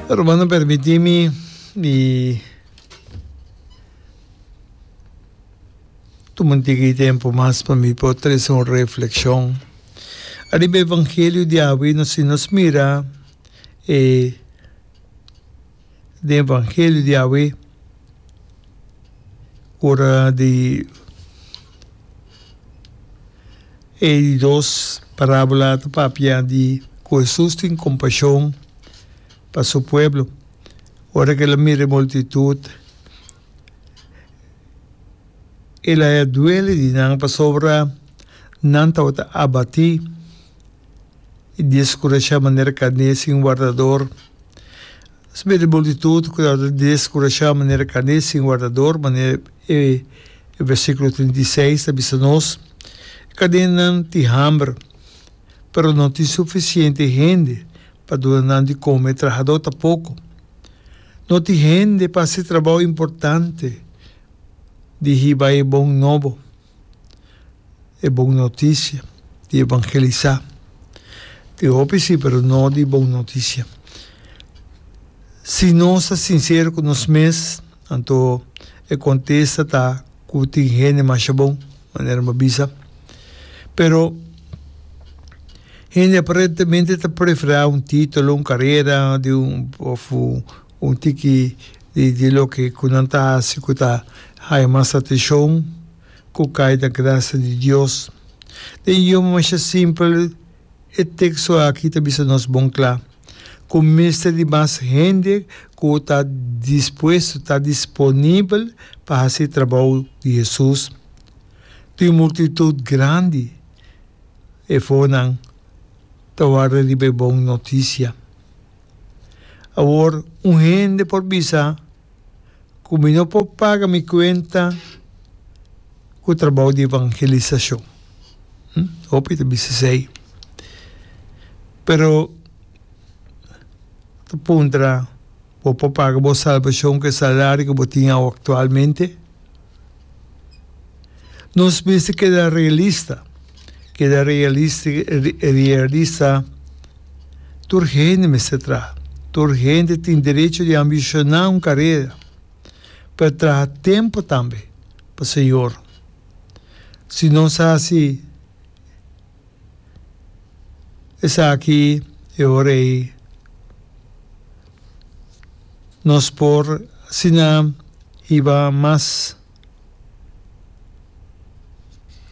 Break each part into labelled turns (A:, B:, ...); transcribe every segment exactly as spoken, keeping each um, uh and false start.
A: Rumannan permití mi i tuma un tiki tempu mas pa mi por trese un reflekshon ariba e evangelio di awe. Nos si nos mira e den evangelio di awe ora di e di dos parábola ta papia di ku Hesus tin kompashon pa su pueblo. Ora ku el a mira e multitut, el a duele di nan pasobra nan tabata abatí i deskurashá manera karné sin wardador. Nos mira e multitut ku tabata deskurashá manera karné sin wardador, manera e versíkulo trinta i seis ta bisa nos. E karnénan tin hamber, pero no tin sufisiente hende pa duna nan di kome, trahadó ta poko. No tin hende pa hasi trabou importante di hiba e bon nobo, e bon notisia, di evangelisá. Tin hopi si, pero no di bon notisia. Si nos ta sinsero ku nos mes, anto e kontesta ta ku tin hende masha bon, manera mi a bisa. Pero hende aparentemente ta preferá un título, un karera di un òf un tiki di di loke ku nan ta hasi ku ta haña mas atenshon ku kai na grasia di Dios. Den idioma masha simpel e teksto aki ta bisa nos bon kla ku mester di mas hende ku ta dispuesto, ta disponibel pa hasi e trabou di Hesus. Tin un multitut grandi efonan ta warda riba e bon notisia. Awor un hende por bisa ku mi no por paga mi kuenta ku trabou di evangelisashon. Hopi ta bisa esei. Pero ta puntra, bo por paga bo salbashon ku e salario ku bo tin awo aktualmente? Nos mester keda realista, keda realista. Tur hende mester traha, tur hende tin derecho di ambishoná un karera, pero traha tempu tambe pa Señor. Si nos hasi esaki e ora ei nos por asina hiba mas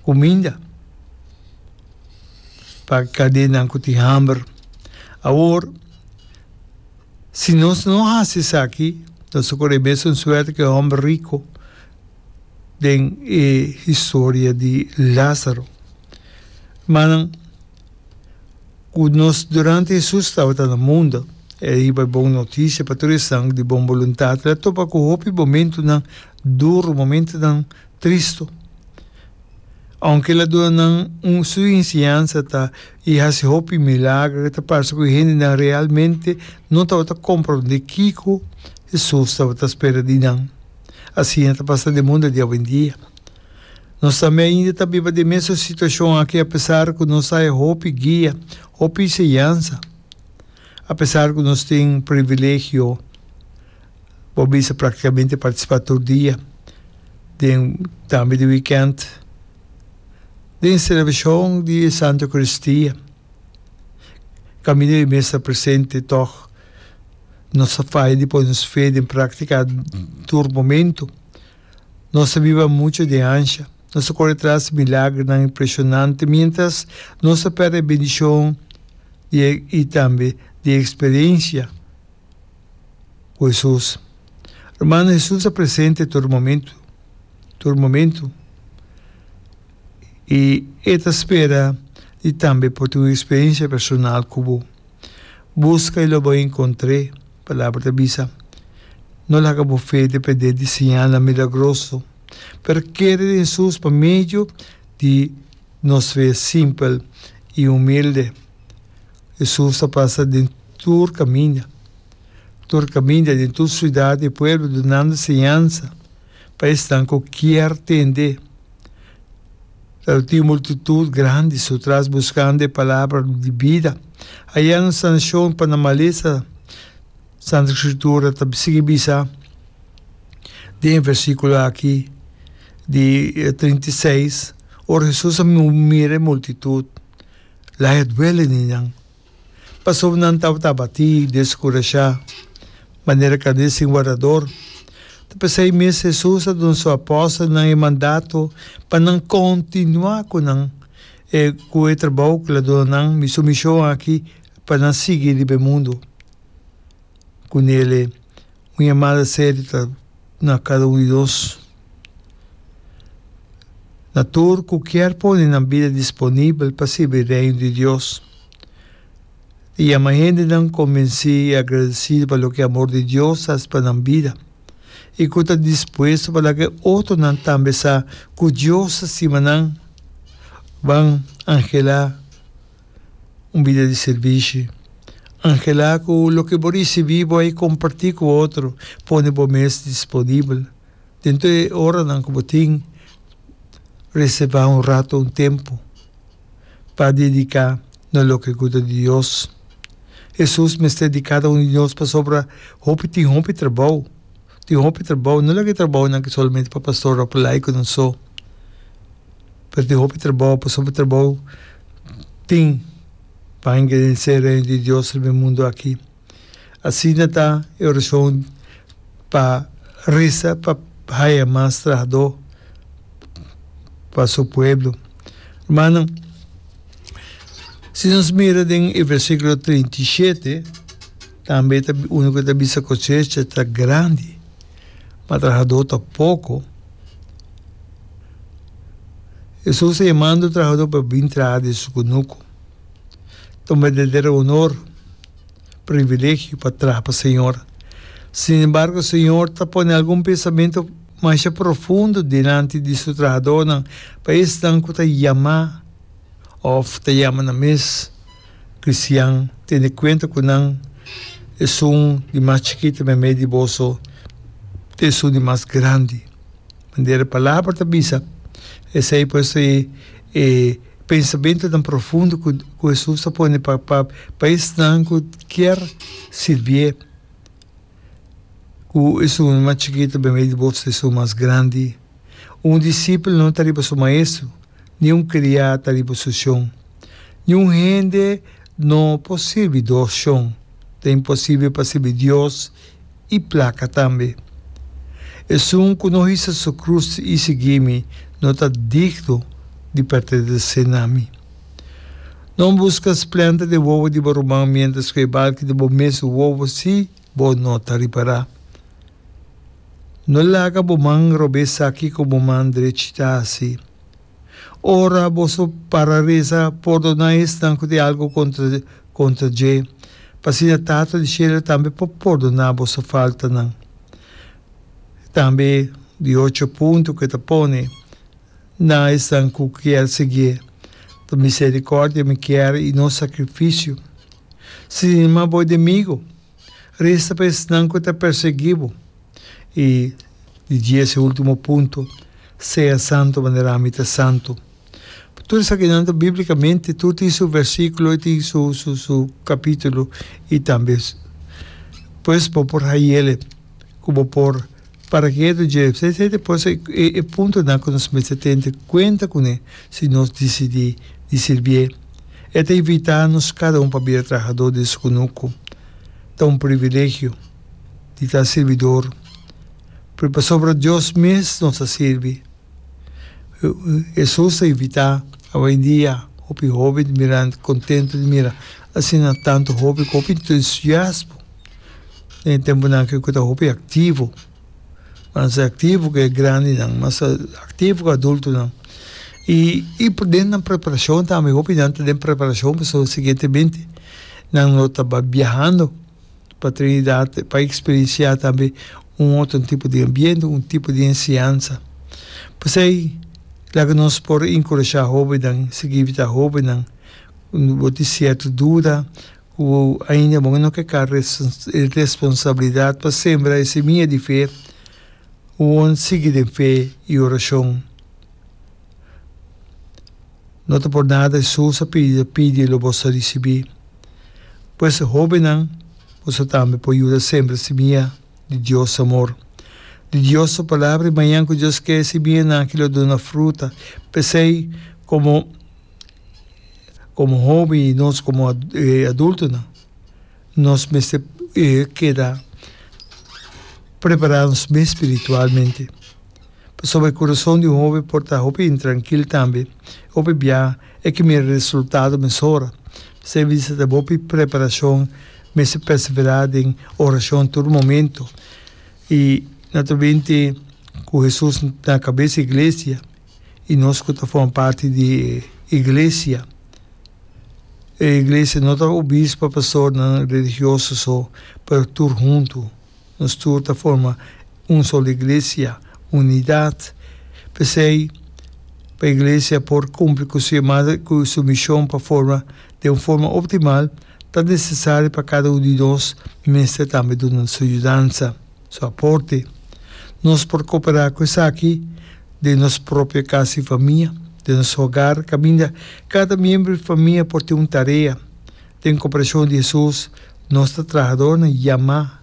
A: kuminda pa kadenan ku tin hamber. Awor, si nos no hasi esaki, nos ta kore mesun suerte ku e hòmber riku den e historia di Lázaro. Hermannan, ku nos durante Hesus tabata na mundu, e a hiba e bon notisia pa tur esnan di bon boluntat. El a topa ku hopi momentunan duru, momentunan tristu. Ounke el a duna nan un su enseñansa ta i hasi hopi milager, ta parse ku e hendenan realmente no tabata komprondé kiko Hesus tabata spera di nan. Asina ta pasa den mundu di awendia. Nos tambe ainda ta biba den mesun situashon aki apesar ku nos haya hopi guia, hopi enseñansa. Apesar ku nos tin privilegio, bo bisa praktikamente partisipá tur dia, den tambe di wikènt, den selebrashon di e Santa Eukaristia. Kaminda di mes ta presente tòg nos ta faya di pone nos fe den práktika tur momentu. Nos ta biba muchu den ansha. Nos ta kore tras di milagernan impreshonante miéntras nos ta pèrdè e bendishon di e i tambe di e eksperensia ku Hesus. Hermano, Hesus ta presente tur momentu, tur momentu. I e ta spera di tambe por tin un eksperensia personal ku bo. Buska i lo bo enkontr'é, Palabra ta bisa. No laga bo fe dependé di señalnan milagroso, pero kere den Hesus pa medio di nos fe simpel i humilde. Hesus ta pasa den tur kaminda, tur kaminda den tur siudat i pueblo dunando señansa pa esnan ku kier tende. Tabatin un multitut grandi su tras buskando e palabra di bida. Hayando sanashon pa nan malesa, Santa Scritura ta sigui bisa den e versiculo aki di trinta i seis, Ora Hesus a mira e multitud, laha e duele di nan, pasobra nan tabata abatí i deskurashá, manera karné sin wardador. Ta p'esei mes Hesus a duna su apòstelnan e mandato pa nan kontinuá ku nan ku e trabou ku el a duna nan, mi su mishon aki pa nan sigui riba e mundu. Ku nele un yamada serio ta na kada un di nos. Na tur ku kier pone nan bida disponibel pa sirbi Reino di Dios. Ta yama hendenan konvensí i agradesido pa loke amor di Dios hasi pa nan bida i ku ta dispuesto pa laga e otronan tambe sa ku Dios ta stima nan. Ban anhelá un bida di sirbishi. Anhelá ku loke bo risibí bo a kompartí ku otro. Pone bo mes disponibel. Den tur e oranan ku bo tin, reservá un rato, un tempu pa dediká na loke ku ta di Dios. Hesus mester di kada un di nos pasobra hopi tin hopi trabou. Tin hopi trabou, no laga e trabounan aki solamente pa pastor òf pa laikonan so, pero tin hopi trabou pasobra trabou tin pa engrandecer Reino di Dios riba e mundu aki. Asina ta e orashon pa resa pa haya mas trahadó pa su pueblo. Hermano, si nos mira den e versíkulo trinta i shete, tambe ta unu ku ta bisa kosecha ta grandi, ma trahadó ta poko. Hesus ta yamando trahadó pa bin traha den su kunuku. Ta un berdadero honor. Privilegio pa traha pa Señor. Sin embargo, Señor ta pone algun pensamentu masha profundo dilanti di su trahadónan pa esnan ku ta yamá òf ta yama nan mes kristian tene kuenta ku nan esun di mas chikitu meimei di boso ta esun di mas grandi. Manera e Palabra ta bisa, esei pues e e pensamentunan profundo ku ku Hesus ta pone pa pa pa esnan ku kier sirbié, ku esun mas chikitu meimei di boso ta esun mas grandi. Un disipel no ta riba su maestro, ni un kriá ta riba su shon. Niun hende no por sirbi dos shon. Ta imposibel pa sirbi Dios i plaka tambe. Esun ku no hisa su krus i sigui mi no ta digno di pertenesé na mi. No buska splenta den wowo di bo ruman miéntras ku e balki di bo mes wowo si bo no ta ripará. No laga bo man robes sa kiko bo man drechi ta hasi. Ora boso para resa, pordoná esnan ku tin algu kontra kontra dje, pa asina Tata di shelu tambe por pordoná boso faltanan. Tambe di ocho punto ku e ta pone na esnan ku kier siguié, ta miserikòrdia mi kier i no sakrifisio. Stima bo enemigu, resa pa esnan ku ta persiguí bo. I di dies e ultimo punto, Sea santu manera ami ta santu. Tur esakinan ta biblikamente, tur tin su versikulo i tin su su su kapitulo i tambe pues bo por hayele ku bo por para ketu dje. Esei ta pues e e puntonan ku nos mester tene kuenta kuné si nos disidí di sirbié. E ta invitá nos kada un pa bira trahadó den su kunuku. Ta un privilegio di ta sirbidor. Pero pasobra Dios mes nos ta sirbi. Hesus ta invitá awendia hopi hóben di mira kontentu di mira asina tantu hóben ku hopi entusiasmo den e tempunan aki ku ta hopi aktivo. Mas aktivo ku e grandinan, mas aktivo ku adultonan. I i den nan preparashon tambe hopi nan ta den preparashon pasobra siguientemente nan lo ta biahando. Pa Trinidad pa experiencia tambe un otro tipo di ambiente, un tipo di enseñansa. P'esey laga nos por encourasha hobennan, sigui invita hobennan cu bo tin cierto duda cu ainda bo no ke carga e responsabilidad pa sembra e semilla di fe, won sigui den fe y oracion. No ta por nada Hesus a pidi, pidi lo boso a ricibi. Pues hóbennan, Boso tambe por yuda sembra simia di Dios su amor, di Dios su palabra i mañan ku Dios ke e simianan aki lo duna fruta. P'esei komo komo hoben i nos komo adultonan nos mester keda prepará nos mes spiritualmente. Pasobra e kurason di un hoben por ta hopi intrankil tambe. Hopi bia e ke mira resultado mesora. P'esei mi bisa ta hopi preparashon, mester perseverá den orashon tur momento. I naturalmente ku Hesus na kabes di iglesia i nos ku ta forma parti di e iglesia. E iglesia no ta obispo, pastornan religioso so, pero tur huntu. Nos tur ta forma un solo iglesia, unidat. P'esei, pa iglesia por kumpli ku su yamada i ku su mishon pa forma den un forma optimal, ta nesesario pa kada un di nos mester tambe duna su yudansa, su aporte. Nos por koperá ku esaki den nos propio kas i famia, den nos hogar, kaminda kada miembro di famia por tin un tarea. Den koperashon di Hesus, nos ta trahadornan yamá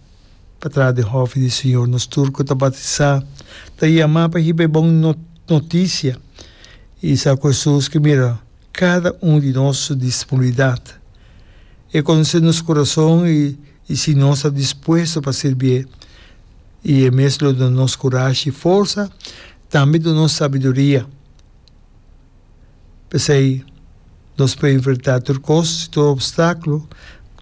A: pa traha den hòfi di Señor. Nos tur ku ta batisá ta yamá pa hiba e bon notisia i sa ku Hesus ke mira kada un di nos su disponibilidat. E konosé nos kurason i si nos ta dispuesto pa sirbié, i e mes lo duna nos kurashi i forsa, tambe duna nos sabiduria. P'esei, nos por enfrentá tur kos i tur opstákulo,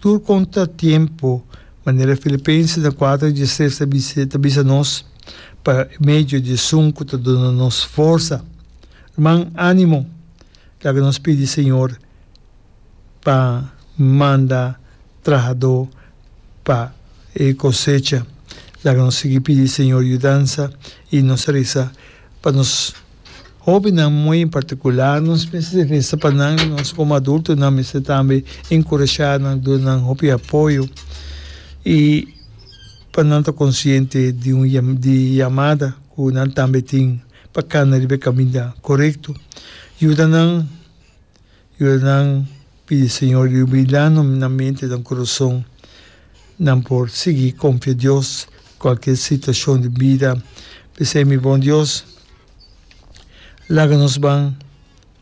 A: tur kontratiempo, manera Filipenses kuater diestres ta bisa ta bisa nos, pa medio di esun ku ta duna nos forsa. Ruman, ánimo! Laga nos pidi Señor pa manda trahadó pa e kosecha. Laga nos sigui pidi Señor yudansa i nos resa pa nos Hóbennan muy en partikular nos mester resa pa nan, nos komo adultonan mester tambe enkurashá nan, duna nan hopi apoyo i pa nan ta konsiente di un di yamada ku nan tambe tin pa kana riba e kaminda korekto. Yuda nan, yuda nan pidi Señor iluminá nan mente, nan kurason, nan por sigui konfia Dios kualke situashon di bida. P'esei mi bon Dios. Laga nos ban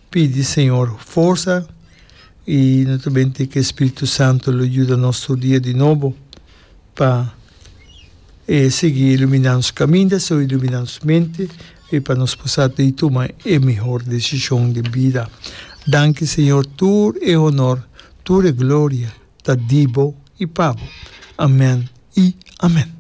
A: pidi Señor forsa y naturalmente ke Spiritu Santo lo yuda nos tur dia di nobo pa e sigui ilumina nos caminda, so ilumina nos mente y pa nos por sa di tuma e mihor decision den bida. Danki Señor tur e honor, tur e gloria ta di bo y pa bo. Amen y amen.